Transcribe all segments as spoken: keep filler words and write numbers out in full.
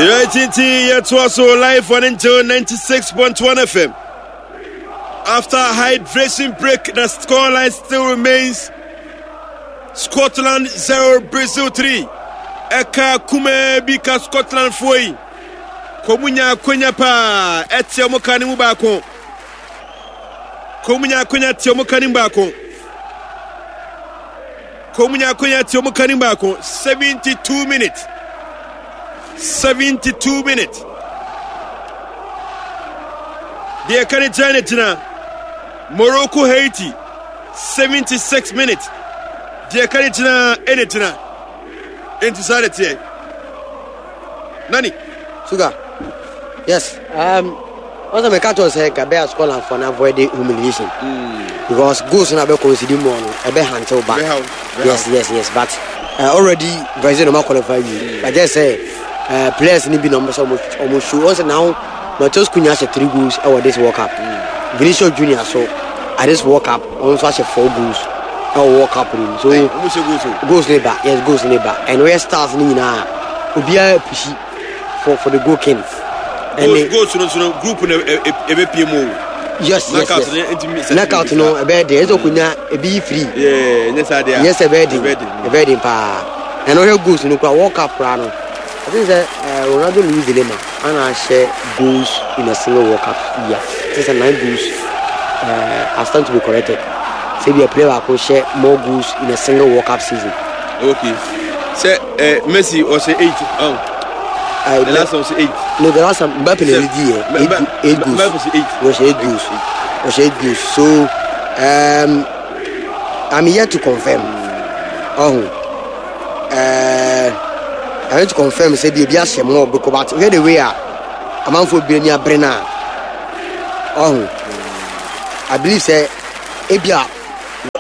Yɛtinti yɛtoa so live on Angel ninety-six point one F M. After a hydration break, the scoreline still remains Scotland zero, Brazil three. Ɛka kumaa bi ka Scotland foɔ yi. Kɔmunya akonya paa ɛte ɔmo ka ne mu baako. Kɔmunya akonya te ɔmo ka ne mu baako. Kɔmunya akonya te ɔmo ka ne mu baako. seventy-two minutes. seventy-two minutes. Deɛ ɛka ne gyina ne gyina Morocco Haiti seventy-six minutes. Deɛ ɛka ne gyina ɛne gyina. Enti saa de teɛ. Nani? Sugar, yes, um wɔn sɛ mɛka kyerɛ sɛ nka bɛyɛ Scotland for na avoid the humiliation mm. because goals na bɛ concede more no, ɛbɛ haunt back. yes yes yes but uh, already Brazil no ma qualify wie mm. But just say uh, players ni bi na ɔmo sɛ ɔmo ɔmo show wɔn sɛ now Matheus Cunha ahyɛ three goals ɛwɔ this World Cup mm. Vinicius Junior so at this World Cup, ɔno nso ahyɛ four goals ɛwɔ World Cup ni mu, so goals ne ba, yes, goals ne ba, and wɔyɛ stars ne nyinaa, obiara push for for the goal king. Ɛne goals no so no, group no ebe pie mu o. yes yes yes knockout no ɛbɛyɛ den, ɛsɛ okunya ebi yi free. Nyɛ saa deɛ. Nyɛ sɛ ɛbɛyɛ den, ɛbɛyɛ den paa. Ɛna ɔhwɛ goals no kura World Cup kura no, I think sɛ uh, Ronaldo Luis de Lima ana ahyɛ goals in a single World Cup year, I think sɛ nine goals. uh, I stand to be corrected, sɛ bi a player baako hyɛ more goals in a single World Cup season. Okay, sɛ uh, Messi ɔhyɛ eight, oh. Uh, the last one was eight. No, the last time Mbappe na lead yɛ eight, eight goals. Mbappe was eight. Was eight goals. Was eight goals. So um, I'm yet to confirm. Oh, uh, I'm yet to confirm. Say bi ebi ahyɛ more because, but hear the way a amanfo bi ani abere na. Oh, I believe say ebi a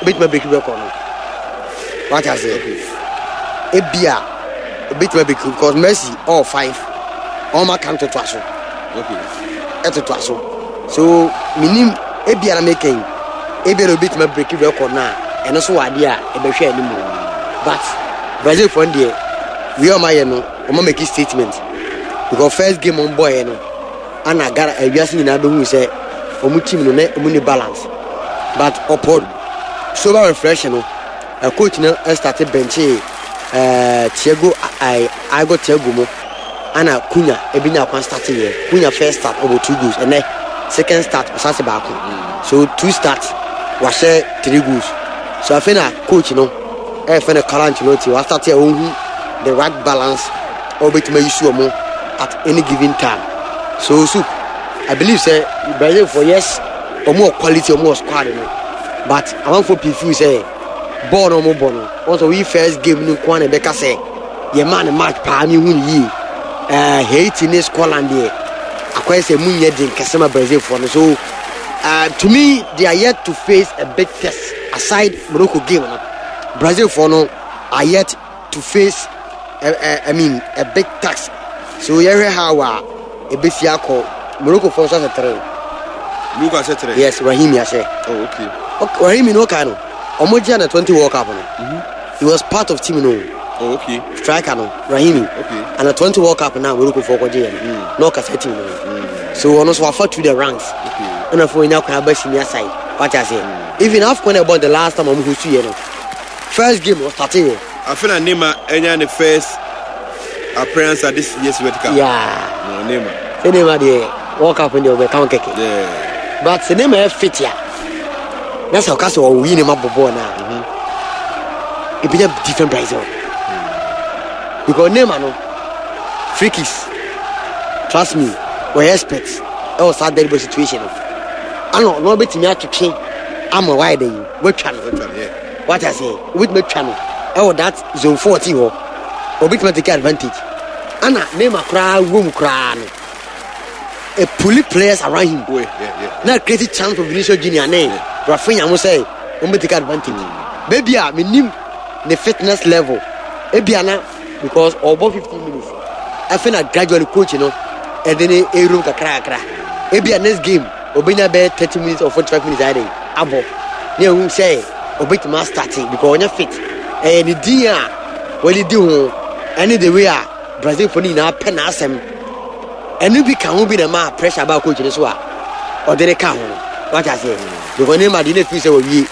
obetuma break record no. What I say? Ebi a obetuma break because Messi all five ɔma kan totoa so ɛtotoa so, so minim ebia na meka yi, ebia na obetuma break record na ɛno so wɔ adeɛ a ɛbɛhwɛ anim, but Brazil fɔ deɛ, wei ɔma yɛ no, ɔma make statement because first game ɔmo bɔɔyɛ no, ana gara ewiase nyinaa bɛhu sɛ ɔmo team no ne ɔmo ni balance, but upon sober reflection no, ɛ coach no ɛstart bench ɛɛ Thiago ɛɛ Igor Thiago mo, ana Cunha ebi nya kwan start yɛ. Cunha first start ɔbɔ two goals, ɛnɛ second start ɔsan se baako, so two start wahyɛ three goals. So afei na coach no ɛyɛ no Carlo Ancelotti wa start a ohun the right balance a ɔbɛtumi ayi su ɔmo at any given time. So so I believe say Brazil for, yes, ɔmo wɔ quality, ɔmo wɔ squad no, but amanfo pii feel sɛ bɔɔl no ɔmo bɔ no, wɔn sɛ oyi first game no nko ara na ɛbɛka sɛ yɛ maa ne match paa mi hu ne yie. ɛɛ Haiti ne Scotland deɛ, akɔyɛ sɛ mu nyɛ den kɛse ma Brazil foɔ no. So uh, to me, they are yet to face a big test aside Morocco game no. Brazil foɔ no are yet to face a, a, I mean, a big task, so yɛhwɛ how a ebesi akɔ. Morocco foɔ nso ahyɛ three. Morocco ahyɛ three. Yes, Brahimi ahyɛ. Oh, okay. Okay, Brahimi no kan no, ɔmo gye na twenty World Cup no, mm -hmm. he was part of team no. Oh, okay. Striker no, Brahimi. Okay. And the twenty World Cup na Morocco foɔ kɔgye yɛ no mm. na ɔkasa team no mm. So ɔno nso wafa through the ranks ɛna fo nya kwan aba senior side, wate aseɛ mm. Even AFCON na ɛbɔ the last time ɔmo host yɛ no, first game ɔstart yɛ. Afei na Neymar ɛnya ne first appearance at this year's World Cup. Yeah. No, Neymar. Sɛ Neymar deɛ, World Cup deɛ ɔbɛka ho kɛkɛ. Yeah. But sɛ Neymar yɛ fit a, na sɛ ɔka sɛ ɔwɔ yi Neymar bɔ bɔɔl na ebi nya different Brazil mm. because Neymar no free kicks, trust me, wɔyɛ expert ɛwɔ saa dead ball situation no, ana ɔno ɔbɛtumi atwetwe ama wayɛ dɛ yi watwa no, wate aseɛ, obɛtumi atwa no ɛwɔ that zone fourteen hɔ, obɛtumi take advantage. Ana Neymar koraa wom koraa no, a pull players around him oh, yeah, yeah. na create chance for Vinicius Junior ne Raphinha mo sɛ wɔn bɛ take advantage mm. Baabi a menim ne fitness level ebi ana because ɔbɔ fifteen minutes, afei na gradually coach no ɛde ne ewuram kakra kakra. Ebi a next game obenya bɛyɛ thirty minutes or forty five minutes ayɛ de abɔ ne ehu sɛ obetumi astart because ɔnyɛ fit. Ɛyɛ ne din a wɔde di ho ɛne the way a Brazil fo no nyinaa pɛ n'asɛm. Ɛno bi ka ho bi na ma pressure ba coach no so a ɔde ne ka ho no, wate aseɛ? Because Neymar deɛ, na firi sɛ wawie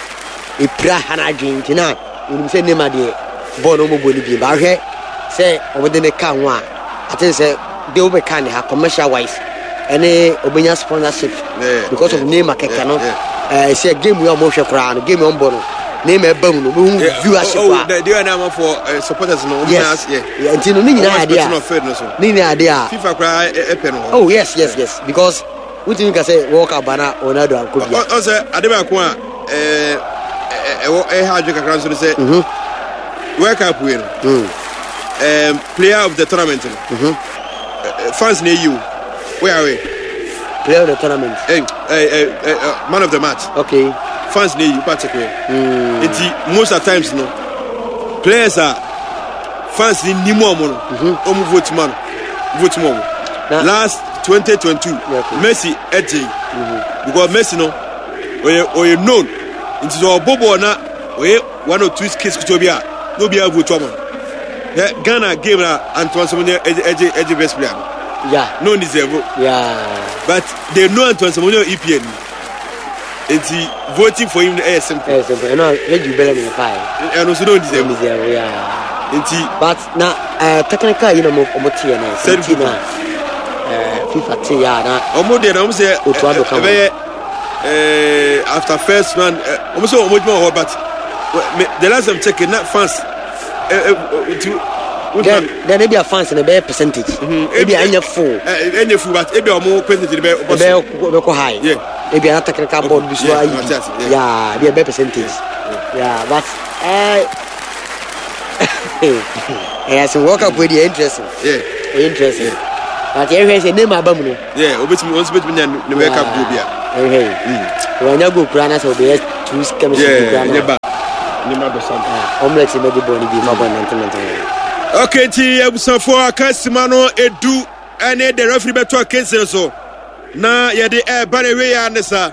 ɛpira ha no adwene, nti na onim sɛ Neymar deɛ, bɔɔl no ɔmɔbɔ no bi baahwɛ sɛ ɔmode ne ka ho a, aten sɛ de wobɛka ne ha commercial wise ɛne ɔbɛnya sponsorship Yeah, because of yeah, Neymar kɛkɛ no. yeah, ɛɛ sɛ game yi a ɔmɔhwɛ koraa no, game yi ɔmbɔ no, Neymar ɛba mu no, ɔbɛhu viewership oh, a the the na for uh, supporters no. Yes. Yeah. Yeah, nti no ne nyinaa Ɔmo yɛ adeɛ expecting a of field no so. ne nyinaa yɛ adeɛ a FIFA koraa ɛpɛ no hɔ. Oh yes yes yes because wotumi ka sɛ World Cup ba na Ronaldo ankɔ bia. Ɔ sɛ ade baako a ɛɛ ɛwɔ ɛha adwe kakra nso no sɛ Mhm. World Cup wei no, Mm. um, player of the tournament no, Mhm. eh, fans na eyi o wey awe. Player of the tournament. eh, eh, eh, eh, man of the match. Okay fans na eyi o pakyɛ kɛ mm. Nti most of times no, players a fans ni nimu ɔmo no, ɔmo vote ma no, vote ma ɔmo. Na- Last twenty twenty-two, Okay. Messi ɛgye because Messi no ɔyɛ ɔyɛ known, nti sɛ ɔbɔ bɔɔl na ɔyɛ one or two skills ketewa bi a, na obiara vote ama no. Ɛ Ghana game na Antoine Semenyo ɛgye ɛgye ɛgye best player no. Yeah no deserve, yeah but they know Antoine Semenyo E P L ni, nti voting for him no ɛyɛ simple. Ɛyɛ simple. Ɛno a yɛgye bɛlɛ mu paa. Ɛno nso no deserve. Ɛno deserve, yeah. Nti but na uh, technical yi na ɔmo ɔmo teɛ na Sɛ ti na uh, FIFA te yɛ a na ɔmo deɛ na ɔmo sɛ Otu ado ka ho. ɛbɛyɛ ɛɛ after first round, ɛ ɔmo sɛ ɔmo adwuma wɔ hɔ, but me the last time check na fans ɛ ɛ nti then then ebi a fans na ɛbɛyɛ percentage, ebi a ɛnyɛ full. ɛ ɛnyɛ full, but ebi a ɔmo percentage bɛ ɔbɔ so. Ɛbɛyɛ ɛbɛkɔ high. Yeah. Ebi a na technical board bi so Yeah, ayi mate bi. ase, yeah. Yeah, ebi a ɛbɛyɛ percentage, yeah, but ɛɛ ɛyɛ sɛ World Cup wey deɛ, interesting. Yeah ɛyɛ interesting, but yɛhwɛ sɛ Neymar aba mu no. Yeah, obetumi, ɔno nso betumi nya ne World Cup goal bi a. Yɛhwɛ yi, wɔnya goal kura na sɛ ɔbɛyɛ two chemistry bi yeah kura ɛnyɛ na ba ne ma bɛ sam. Ɔmlɛt bɛgye bɔɔl no bi fa bɔɔl nante nante. Okay, nti abusuafoɔ, aka sima no edu ɛne the referee bɛto akansi no so na yɛde ɛɛba na ewie ya ne sa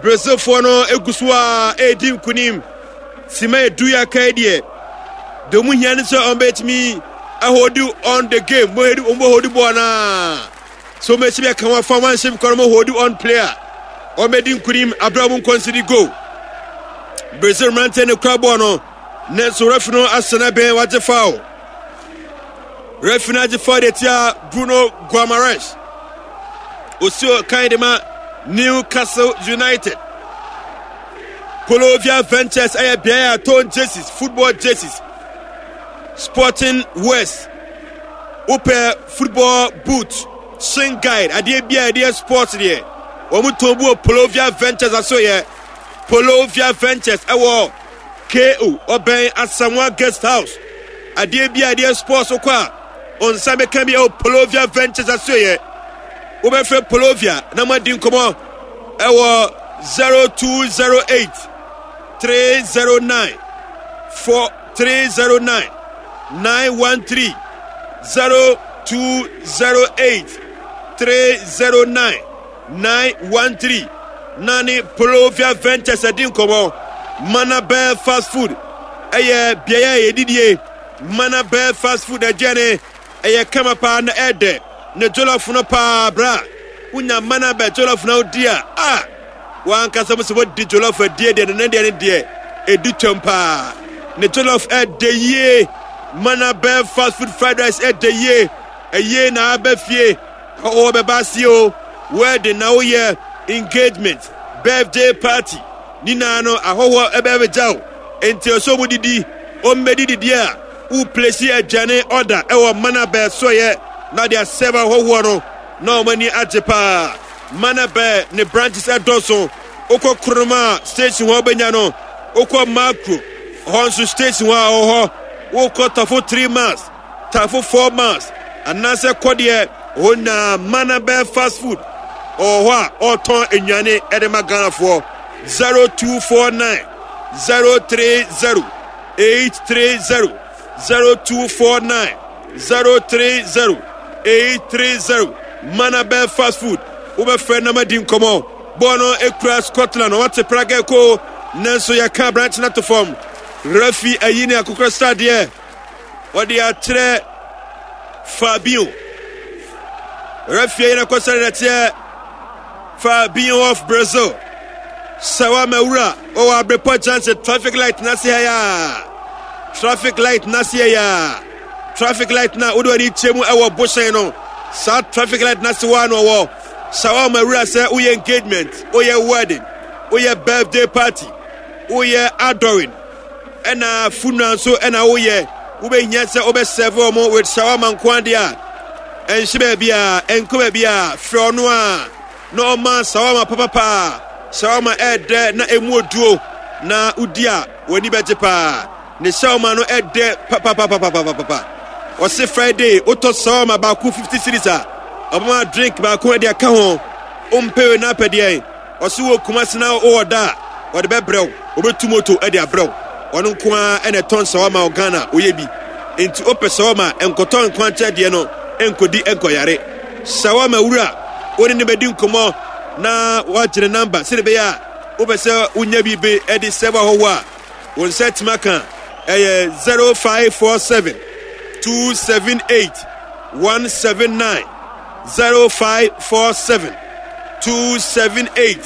Brazilfoɔ no egu so a ɛredi nkunim. Sima edu yɛ aka yi deɛ, deɛ ɔmo hia ne sɛ ɔmo bɛtumi ahold on the game, ɔmo hold ɔmo hold bɔɔl naa so ɔmo esi aka wɔn afa wɔn anhyɛ mu kɔ, ɔmo hold on player, ɔmo bɛdi nkunim abira ɔmo nconcede goal. Brazil mmeranteɛ ne kura bɔɔl no, nanso referee no asɛnɛ bɛn, wagye foul. Referee no agye foul de tia Bruno Guimaraes, osi kan de ma Newcastle United. Colovia Ventures ɛyɛ beaeɛ a tɔn jerseys, football jerseys, sporting wears, wopɛ football boot, shin guard, adeɛ bi a yɛde sports deɛ, wɔn tɔn bu wɔ Polovia Ventures aso. Yɛ Polovia Ventures ɛwɔ ko ɔbɛn Asamoah Guest House. Adeɛ bi a yɛde sports kɔ a ɔnsa bɛka bi ɛwɔ Polovia Ventures aso. Yɛ wobɛfrɛ Polovia na mo adi nkɔmɔ ɛwɔ zero two zero eight three zero nine four three zero nine nine one three, zero two zero eight three zero nine nine one three, na ne Polovia Ventures adi nkɔmɔ. Manabel Fast Food ɛyɛ beaeɛ a yɛdidie. Manabel Fast Food aduane ɛyɛ kama paa na ɛɛdɛ ne jollof no paa. Bra wonya Manabel jollof na wodi a a wankasa mo sɛ wɔdi jollof adie deɛ, ne deɛ ne deɛ ɛdi twam paa. Ne jollof ɛɛdɛ yie. Manabel Fast Food fried rice ɛɛdɛ yie. Ɛyie na aba fie ɔwɔ bɛba ase o, wedding na woyɛ, engagement, birthday party nyinaa no, ahɔhoɔ ɛbɛbɛgya wo, nti ɔsɛ ɔmo didi, ɔmmɛdi didi a wo place aduane order ɛwɔ Manabɛ soyɛ na de asɛm ahɔhoɔ no na ɔmo ani agye paa. Manabɛ ne branches ɛdɔso. Wokɔ Koronoma station hɔ wobɛnya no, wokɔ Makro hɔ nso station hɔ a ɔwɔ hɔ, wokɔ Tafo three miles, Tafo four miles anaasɛ kɔdeɛ hɔ nyinaa, Manabɛ Fast Food ɔwɔ hɔ a ɔretɔn nnuane ɛde ma Ghanafoɔ. zero two four nine zero three zero eight three zero, zero two four nine zero three zero eight three zero, Manabɛ Fast Food. Wobɛfrɛ na madi nkɔmmɔ. Bɔɔl no ekura Scotland, wɔte praga ko, nanso yɛka aberante no ato fam. Referee ayi ne akokɔ sradeɛ, wɔde akyerɛ Fabio. Referee yɛn kɔsɛn nɛteɛ Fabinho of Brazil. Shawarma wura ɔwɔ Abrepɔ Junction traffic light n'ase ha ya. Traffic light n'ase ya. Traffic light na wode w'ani kyerɛ mu ɛwɔ bohyɛn no. Saa traffic light n'ase hɔ ano ɔwɔ. Shawarma wura sɛ woyɛ engagement, woyɛ wedding, woyɛ birthday party, woyɛ adoring, ɛna funeral nso ɛna woyɛ. Wobɛhia sɛ wobɛserve wɔn with shawarma nko adeɛ a ɛnhyɛ baabi a ɛnkɔ baabi a frɛ ɔno a na ɔma shawarma papapa. Shawarma ɛɛdɛ na emu oduo na wodi a w'ani bɛgye paa. Ne shawarma no ɛdɛ papapapapapapa. Ɔse Friday wotɔ shawarma baako fifty cedis a ɔbɛma drink baako ɛde aka ho. Wompɛ na apɛdeɛ ɔse wɔ Kumasi na wowɔ da a ɔde bɛbrɛ wo, ɔbɛtu moto ɛde abrɛ wo. Ɔno nko ara ɛna ɛtɔn shawarma wɔ Ghana oyɛ bi. Nti wopɛ shawarma nkɔtɔ nkwankyɛ deɛ no nkɔdi nkɔyare. Shawarma wura wo ne ne bɛdi nkɔmmɔ na woagyene number sɛde bɛyɛ a wopɛ sɛ wonya bi be ɛde sɛbo ahɔhoɔ a wo nsa atumi aka ɛyɛ zero five four seven two seven eight one seven nine, zero five four seven two seven eight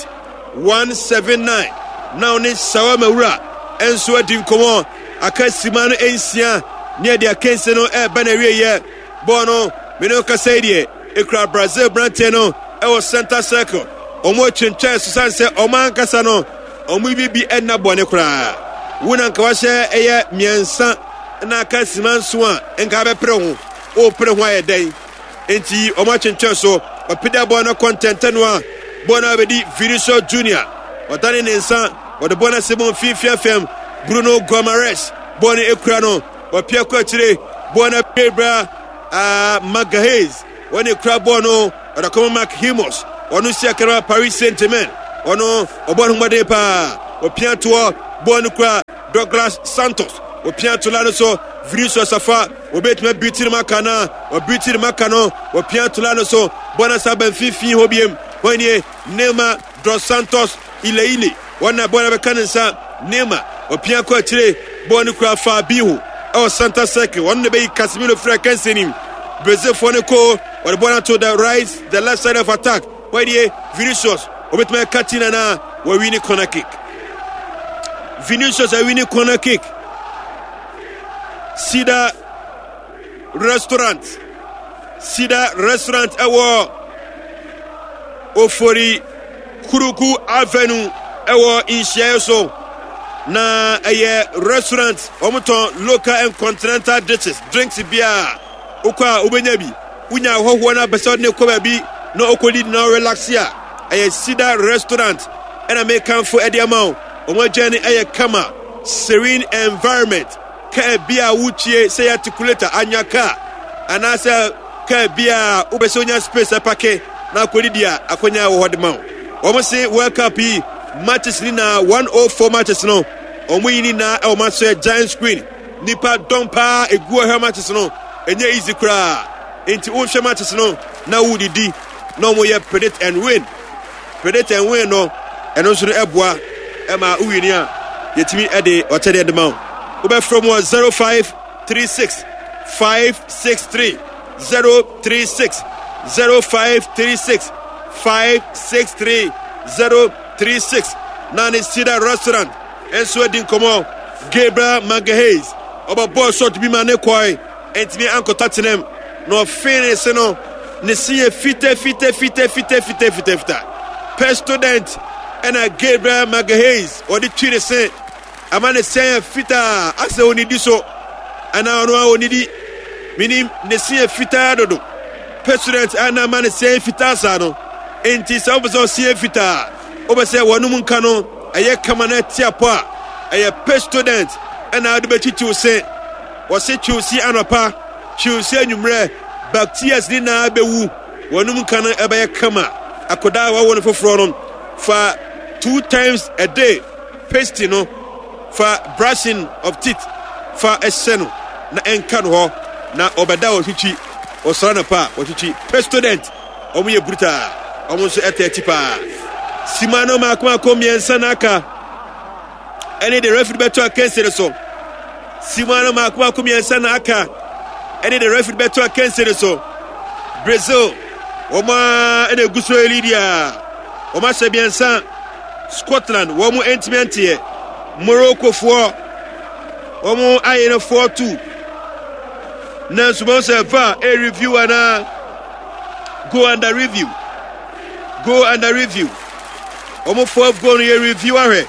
one seven nine. Na wo ne shawarma wura ɛnso adi nkɔmmɔ. Aka sima no nsia ne ɛde akansi no ɛreba na awieyɛ. Bɔɔl no me ne kasa yi deɛ ekura Brazil branteɛ no ɛwɔ center circle. Ɔmo atwentwɛn so san sɛ ɔmo ankasa no ɔmo bi bi ɛnna bɔne koraa. Wo na nka wahyɛ ɛyɛ mmiɛnsa na aka sima nso a nka bɛpere ho. Wopere ho ayɛ dɛn? Enti ɔmo atwentwɛn so. Ɔpida bɔɔl no kɔntɛntɛn no a bɔɔl no abɛdi Vinicius Junior. Ɔdane ne nsa wɔde bɔɔl no ase bɔ mfimfini fam. Bruno Guimaraes bɔɔl no ekura no. Ɔpia kɔ akyire bɔɔl no abɛbra uh, Magalhaes wɔne kura bɔɔl no ɔde kɔma Marquinhos. Ɔno si akara Paris Saint-Germain. Ɔno ɔbɔ ne ho mmɔden paa. Ɔpia toɔ bɔɔl no kura Douglas Santos. Ɔpia to la no so Vinicius afa obetumi abiti ne maka na ɔbiti ne maka no. Ɔpia to la no so bɔɔl no asa ba mfimfini hɔ biem. Wɔn nie Neymar dos Santos Ileile wɔn na bɔɔl no bɛka ne nsa. Neymar ɔpia kɔ akyire bɔɔl no kura Fabinho ɛwɔ center circle. Wɔn na bɛyi Casemiro fira kɛnse nim. Brazilfoɔ no ko wɔde bɔɔl no ato the right the left side of attack. Wɔn nie Vinicius obetumi aka ti nana wɔwi ne corner kick. Vinicius awi ne corner kick. Sida restaurant, Sida restaurant ɛwɔ Ofori Kuruku Avenue ɛwɔ nhyiaeɛ so. Na ɛyɛ restaurant wɔn tɔn local and continental dishes, drinks bia wokɔ a wobɛnya bi. Wonya ahɔhoɔ no apɛ sɛ ɔde ne kɔ baabi na ɔkɔdi na ɔrelax a ɛyɛ Sida restaurant ɛna mekamfo ɛde ama wo. Wɔn aduane ɛyɛ kama, serene environment. Kaa bi a wotwie sɛ yɛ articulator anya kaa anaasɛ kaa bi a wopɛ sɛ wonya space ɛpake na akɔdidi a akɔnya wɔ hɔ de ma wo. Wɔn se World Cup yi matches ni na one oh four matches no wɔn yi ni na ɛwɔ ma so yɛ giant screen. Nipa dɔm paa egu ɔhwɛ matches no ɛnyɛ easy koraa. Nti wohwɛ matches no na wodidi na wɔn yɛ predict and win. Predict and win no ɛno nso no ɛboa ɛma wowini a yɛtumi ɛde ɔkyɛdeɛ de ma wo. Wobɛfrɛ mu wɔ zero five three six five six three zero three six, zero five three six five six three zero three six. Na ne Sida restaurant nso adi nkɔmmɔ. Gabriel Magalhaes ɔbɔ bɔɔl shot bi ma ne kɔe ntumi ankɔtɔ tenam na ɔfee ne se no ne se yɛ fita fita fita fita fita fita fita. Pestodent ɛna Gabriel Magalhaes ɔde twi ne se ama ne se yɛ fitaa asɛ onidi so anaa ɔno a onidi minim ne se yɛ fitaa dodo. Pestodent ɛna ama ne se yɛ fitaa saa no. Enti sɛ wopɛ sɛ ɔse yɛ fitaa wopɛ sɛ wɔnom nka no ɛyɛ kama na ɛte apɔ a ɛyɛ Pestodent ɛna wode bɛtwitwiw se. Wɔse twiw se anɔpa, twiw se anwummerɛ, bacteria ne nyinaa bɛwu. Wɔnom nka no ɛbɛyɛ kama. Akwadaa a wɔawo no foforɔ no fa two times a day paste no fa brushing of teeth fa ɛhyɛ no na ɛnka no hɔ na ɔbɛda ɔtwitwi ɔsɔre anɔpa a ɔtwitwi. Pestodent wɔn yɛ brutal, wɔn nso ɛtɛ akyi paa. Sima no mako mako mmiɛnsa na aka ɛne de referee bɛto akansi no so. Sima no mako mako mmiɛnsa na aka ɛne de referee bɛto akansi no so. Brazil Wɔn a ɛna egu so lead a wɔn ahyɛ mmiɛnsa. Scotland wɔn ntumi nteɛ. Moroccofoɔ wɔn ayɛ no four two. Nanso wɔn sɛ VAR a review anaa go under review. Go under review. Wɔn fourth goal no yɛ review ahwɛ.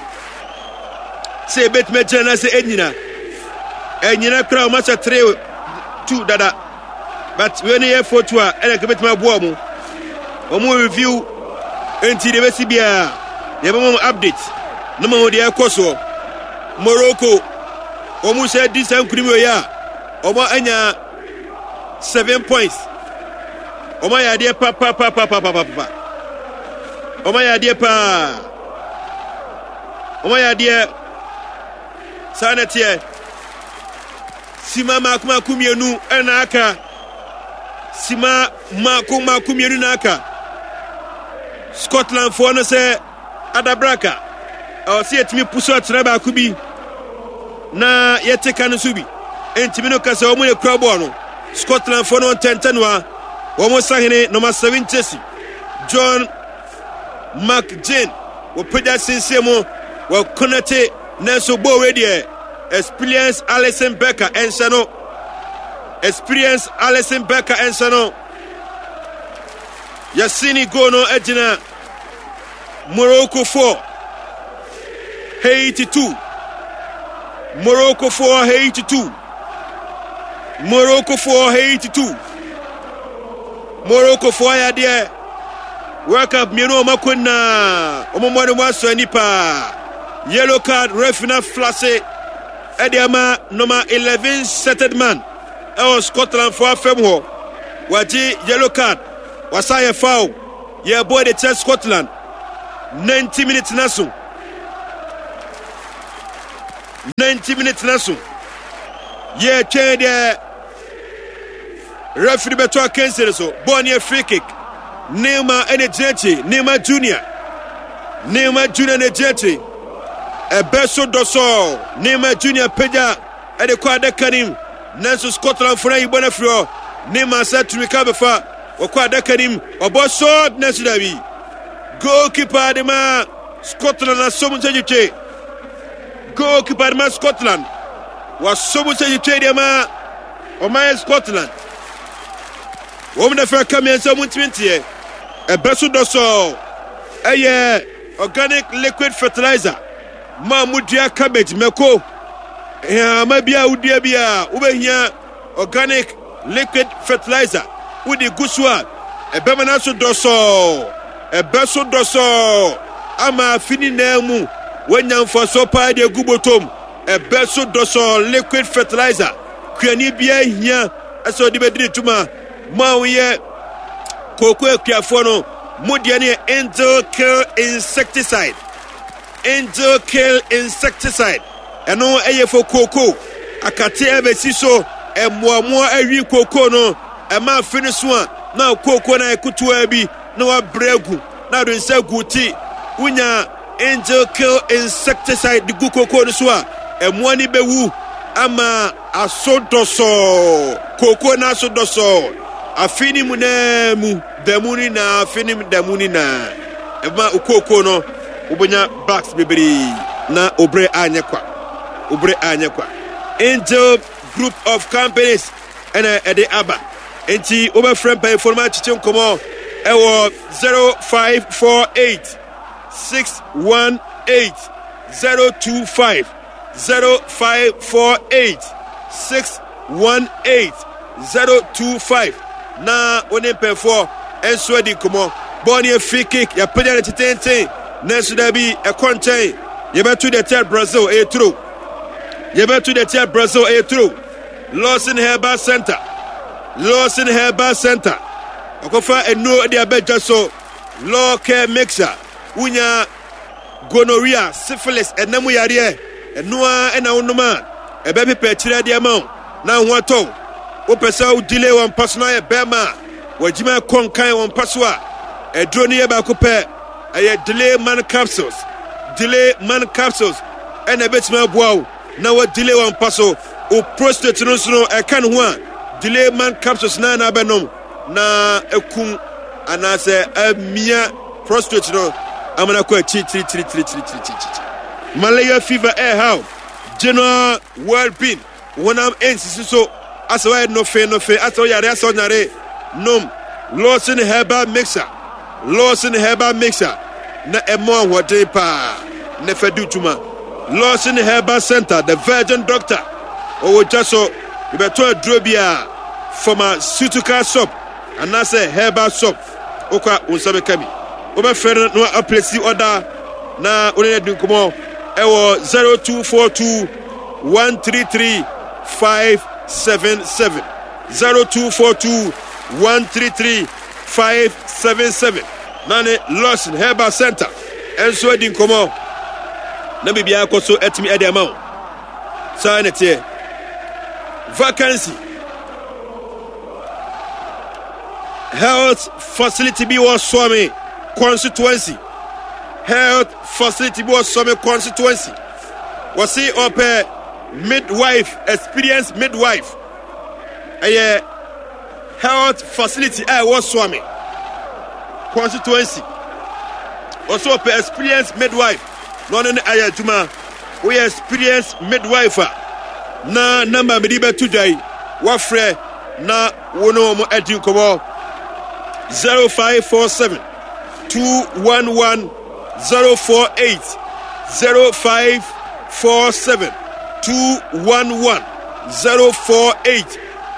Sɛ ebetumi agyina na sɛ enyina. Enyina koraa wɔn ahyɛ three two dada. But wei no yɛ four two a ɛna ebetumi aboa wɔn. Wɔn review nti deɛ ebesi biara yɛbɛma wɔn update na ma wɔn deɛ ɛkɔ soɔ. Morocco wɔn sɛ di saa nkunim wei a wɔn anya seven points. Wɔn ayɛ adeɛ papapapapapapa. Wɔn ayɛ adeɛ paa. Wɔn ayɛ adeɛ saa na teɛ. Sima mako mako mmienu ɛna aka. Sima mako mako mmienu na aka. Scotland foɔ no sɛ adabraka ɛwɔ sɛ yɛtumi pusu atena baako bi na yɛte ka no so bi. Ntumi no kasa wɔn yɛ kura bɔɔl no. Scotland foɔ no ntɛntɛnoa wɔn sahene number seven Chelsea John McGinn wɔpagya sinsin mu wɔkɔnɛte nanso bɔɔl wei deɛ experience Alison Becker ɛnhyɛ no. Experience Alison Becker ɛnhyɛ no. Yɛsini goal no agyina Morocco four Haiti two. Morocco four Haiti two. Morocco four Haiti two. Morocco four ayɛ adeɛ. World Cup mmienu a wɔn akɔ nyinaa wɔn mmɔ ne mu asɔ ani paa. Yellow card ref na flase ɛde ama number eleven settled man ɛwɔ Scotland fo afɛm hɔ. Wagye yellow card. Wasa yɛ foul. Yɛbɔ de kyerɛ Scotland. ninety minutes na so. ninety minutes na so. Yɛtwɛn deɛ referee bɛtɔ akansi no so. Bɔɔl no yɛ free kick. Neymar ɛna gyina akyi. Neymar Junior. Neymar Junior na gyina akyi. Ɛbɛ so dɔsɔɔ. Neymar Junior pagya ɛde kɔ adaka nim. Nanso Scotland fo no ayi bɔ no afiri hɔ. Neymar sɛ tumi ka bɛfa. Wɔkɔ adaka nim. Ɔbɔ shot nanso dabi. Goalkeeper de ma Scotland asom nsa twitwe. Goalkeeper de ma Scotland. Wasom nsa twitwe de ma ɔman Scotland. Wɔn na fɛ ka mmiɛnsa wɔn ntumi nteɛ. Ɛbɛ so dɔsɔɔ. Ɛyɛ organic liquid fertilizer. Mo a modua cabbage mako. Nhama bi a wodua bi a wobɛhia organic liquid fertilizer. Wode gu so a ɛbɛma no so dɔsɔɔ. Ɛbɛ so dɔsɔɔ ama afe ne nyinaa mu woanya mfasoɔ paa de agu bɔtɔm. Ɛbɛ so dɔsɔɔ liquid fertilizer. Kuani biara hia ɛsɛ ɔde bɛdi ne dwuma. Mo a woyɛ kooko akuafoɔ no, mo deɛ no yɛ Angel Kill insecticide. Angel Kill insecticide. Ɛno ɛyɛ fo kooko. Akate ɛbɛsi so ɛmmoamoa awi kooko no. Ɛma afe no so a na kooko no ayɛ ketewa bi na wabrɛ agu na ade nsa gu ti. Wonya Angel Kill insecticide de gu kooko no so a ɛmmoa no bɛwu ama aso dɔsɔɔ. Kooko no aso dɔsɔɔ. Afe no mu naa mu da mu no nyinaa afe no da mu no nyinaa ɛma kooko no wobɛnya bags bebree na obrɛ anyɛ kwa. Obrɛ anyɛ kwa. Angel Group of Companies ɛna ɛde aba. Nti wobɛfrɛ mpanyinfoɔ no ma akyekye nkɔmɔ ɛwɔ zero five four eight six one eight zero two five zero five four eight six one eight zero two five na wo ne mpanyinfoɔ nso adi nkɔmɔ. Bɔɔl no yɛ free kick yɛapagya no tetenten nanso dabi ɛkɔ nkyɛn. Yɛbɛto deɛ tia Brazil ɛyɛ turo. Yɛbɛto deɛ tia Brazil ɛyɛ turo. Lawson Herbal Center. Lawson Herbal Center. Ɔkɔfa nnuro de abɛdwa so. Law Care Mixer. Wonya gonorrhea, syphilis, ɛnam yareɛ. Ɛno ara ɛna wonom a ɛbɛpepa akyire adeɛ ama wo na ho atɔ wo. Wopɛ sɛ wo delay wɔn mpa so na ayɛ bɛrima a wɔagyima kɔ nkan wɔn mpa so a aduro no yɛ baako pɛ. Ɛyɛ delay man capsules. Delay man capsules ɛna ɛbɛtumi aboa wo na wɔ delay wɔn mpa so. Wo prostate no nso no ɛka ne ho a delay man capsules na na abɛnom na ekum Anaasɛ amia prostate no amana kɔ akyirikyirikyirikyirikyirikyiri. Malaria fever ɛɛhaw, general well-being, honam nsisi so, asɛ wɔyɛ nofe nofe, asɛ wɔyare, asɛ wɔnyare, nom Lawson Herbal Mixer. Lawson Herbal Mixer na ɛmɔ ahoɔden paa na fɛ di dwuma. Lawson Herbal Center, the Virgin Doctor, ɔwɔ dwa so. Yɛbɛtɔ aduro bi a pharmaceutical shop anaasɛ herbal shop, wokɔ a wo nsa bɛka bi. Wobɛfrɛ no na aplace order na wo ne no adi nkɔmmɔ ɛwɔ zero two four two one three three five seven seven, zero two four two one three three five seven seven, na ne Lawson Herbal Center ɛnso adi nkɔmmɔ na biribiara kɔ so atumi ɛde ama wo. Saa na teɛ. Vacancy, health facility bi wɔ Suame constituency. Health facility bi wɔ Suame constituency, wɔsi ɔpɛ midwife, experienced midwife. Ɛyɛ health facility a ɛwɔ Suame constituency. Wɔsi ɔpɛ experienced midwife na ɔne no ayɛ adwuma. Woyɛ experienced midwife a, na number mede bɛto dwa yi, wafrɛ na wo ne wɔn adi nkɔmmɔ: zero five four seven two one one zero four eight, zero five four seven two one one zero four eight.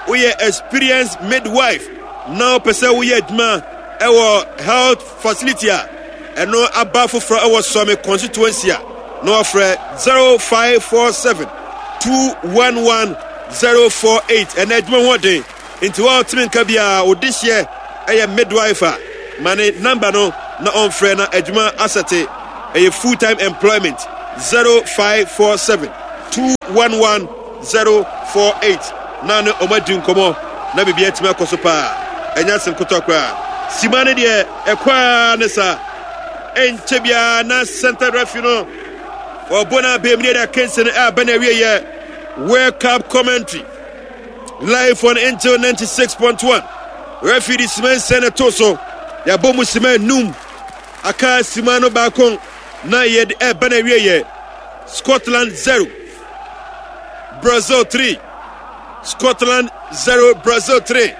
Woyɛ experienced midwife na wopɛ sɛ woyɛ adwuma ɛwɔ health facility a ɛno aba foforɔ ɛwɔ Suame constituency a, na wafrɛ zero five four seven two one one zero four eight. Ɛnɛ adwuma ho ɔden nti wa ɔtumi nka biara ɔde hyɛ ɛyɛ midwife a, ma ne number no na ɔmfrɛ na adwuma asɛte. Ɛyɛ full time employment. zero five four seven two one one zero four eight na ne ɔmo adi nkɔmmɔ na biribi atumi akɔ so paa. Ɛnyɛ asɛm ketewa koraa. Sima no deɛ ɛkɔ a ne sa ɛnkyɛ biara na center referee no ɔbɔ no abɛm ne yɛde akansi no ɛaba no awieyɛ. World Cup commentary live on Angel ninety-six point one. Referee de sima nsia na ɛto so. Yɛabɔ mu sima enum, aka sima no baako na yɛde ɛba no awieyɛ. Scotland zero, Brazil three. Scotland zero, Brazil three.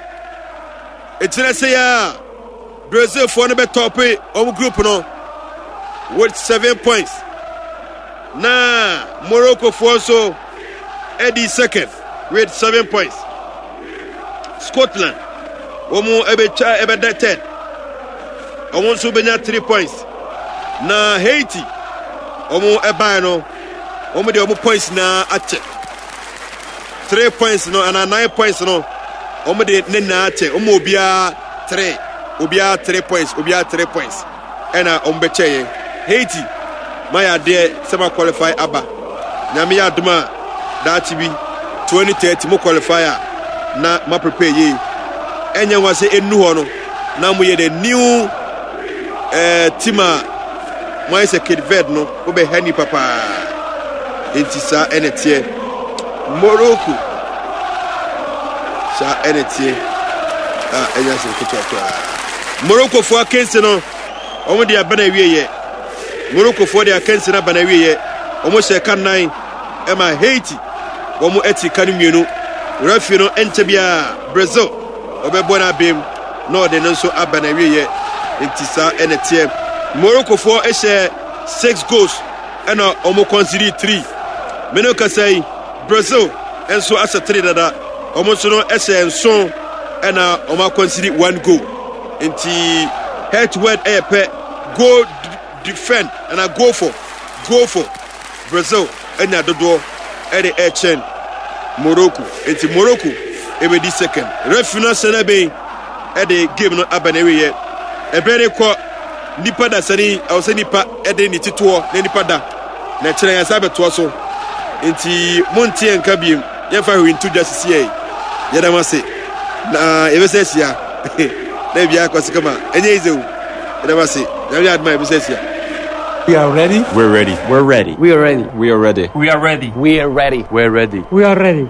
Ɛgyina sɛ yɛ a Brazilfoɔ no bɛtop wɔn group no with seven points, na Moroccofoɔ nso ɛdi second with seven points. Scotland wɔn ɛbɛtwa ɛbɛda third, wɔn nso bɛnya three points, na Haiti wɔn ɛbae no, wɔn de wɔn points na akyɛ. Three points no anaa nine points no, wɔn de ne nyinaa akyɛ wɔn. Obiara three, obiara three points, obiara three points ɛna wɔn bɛkyɛ yɛn. Haiti ma yɛ adeɛ sɛ ma qualify aba. Nyame yɛ adom a, daakye bi twenty thirty mo qualify a, na ma prepare yie. Ɛnyɛ nwa sɛ ɛnu hɔ no na mo yɛ the new eh, team a mo ayɛ sɛ Cape Verde no, wobɛha nipa paa. Nti saa ɛna teɛ. Morocco, saa ɛna teɛ a ɛnyɛ asɛm ketewa koraa. Moroccofoɔ akansi no, wɔn de aba na awieyɛ. Moroccofoɔ de akansi no aba na awieyɛ. Wɔn hyɛ ka nnan ɛma Haiti wɔn ati ka no mmienu. Referee no nkyɛ biara Brazil ɔbɛbɔ no abɛm na ɔde no nso aba na awieyɛ. Nti saa ɛna teɛ. Moroccofoɔ hyɛ six goals ɛna wɔn concede three. Mene kasa yi, Brazil nso ahyɛ three dada. Wɔn nso no hyɛ nson ɛna wɔn aconcede one goal. Nti head to head ɛyɛ pɛ. Goal defend ɛna goal for goal for Brazil ɛnya dodoɔ ɛde ɛkyɛn Morocco, nti Morocco ɛbɛdi second. Referee no ahyɛ no bɛn ɛde game no aba na ɛwiyɛ. Ɛbɛn ne kɔ nipa da sani ɛwɔ sɛ nipa ɛde ne titoɔ na nipa da na kyerɛ yɛn sa bɛtoa so. Nti monte yɛn nka biem, yɛmfa hwee nto dwa sisi yɛ. Yɛda mo ase na yɛbɛsɛ ahyia na ebi akɔ so kama. Ɛnyɛ easy o. Yɛda mo ase. Nyame adom a, yɛbɛsɛ ahyia. We are ready. We're ready. We're ready. We are ready. We are ready. We are ready. We are ready. We're ready. We are ready.